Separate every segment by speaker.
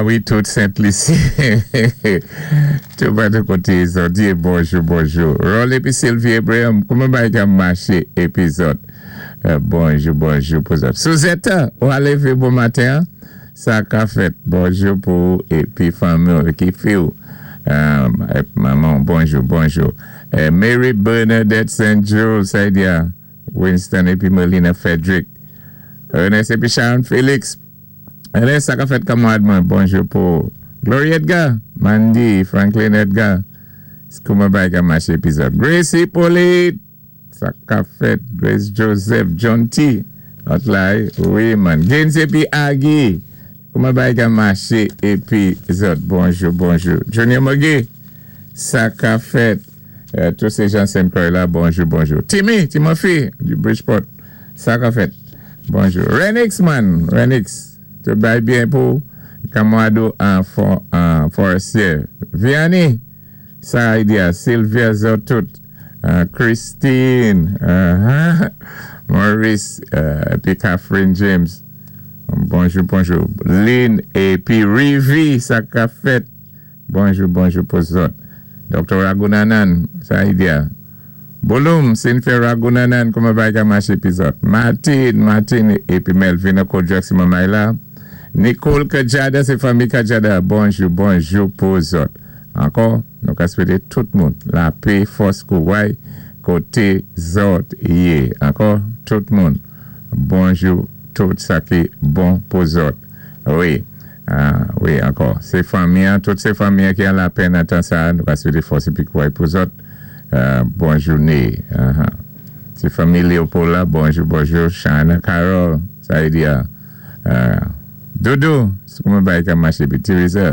Speaker 1: A wi, tout Sent Lisi. Tout patou koté zòt yé, bonjou, bonjou. Rol épi Sylvie Abraham, kouman bagay ka maché épi zòt? Bonjou, bonjou pou zòt. Suzette, ou a lévé bon maten an? Sa ka fèt? Bonjou pou ou épi fanmi ou, ki fi ou, manman ou, bonjou, bonjou. Mary Bernadette Saint Jules, sa y di a? Winston épi Melina Frederick. Ernest épi Sharon Felix. Ernest, sa ka fèt, kanmarad mwen? Bonjou pou ou. Glory Edgar, Mandy, Franklin Edgar. Kouman bagay ka maché épi zòt? Grace Hippolyte, sa ka fèt? Grace Joseph, John T. Lòt la, wi man. Gaines épi Aggie, kouman bagay ka maché épi zòt? Bonjou, bonjou. Junior Moguet, sa ka fèt? Tout sé jan Saint Croix la, bonjou, bonjou. Timmy, Timothy, du Bridgeport, sa ka fèt? Bonjou. Renix man, Renix, tout bagay byen pou kanmarad ou an Forestier. Vianney, sa y di a? Sylvia zòt tout. Christine, Maurice, épi Catherine James. Bonjou, bonjou. Lynn épi Rivi, sa ka fèt? Bonjou, bonjou pou zòt. Dr. Ragunanan, sa y di a? Bouloum, Cynthia Ragunanan, kouman bagay ka maché épi zòt? Martine, Martine, épi Melvin Kodjak si manmay la. Nicole Kajada, sé fanmi Kajada. Bonjou, bonjou pou zòt. Ankò, nou ka swété tout moun lapé, fòs, kouray koté zòt yé. Ankò, tout moun, bonjou, tout sa ki bon pou zòt. Wi, wi, ankò, sé fanmi an, tout sé fanmi an ki an lapèn nan tan sa a, nou ka swété fòs épi kouray pou zòt. Bon jouné. Ti fanmi Léopold la, bonjou, bonjou. Shana Carol, sa y di a? Dodo, kouman bagay ka maché épi Teresa,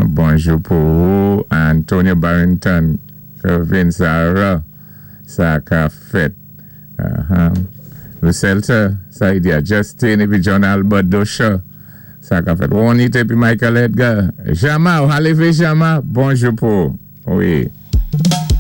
Speaker 1: bonjou pou ou. Antonio Barrington, Kervin, Sarah, sa ka fèt? Lucelta, sa y di a? Justin épi John Albert Dosha, sa ka fèt? Juanita épi Michael Edgar, Jama, ou a lévé Jama, bonjou pou ou. Wi.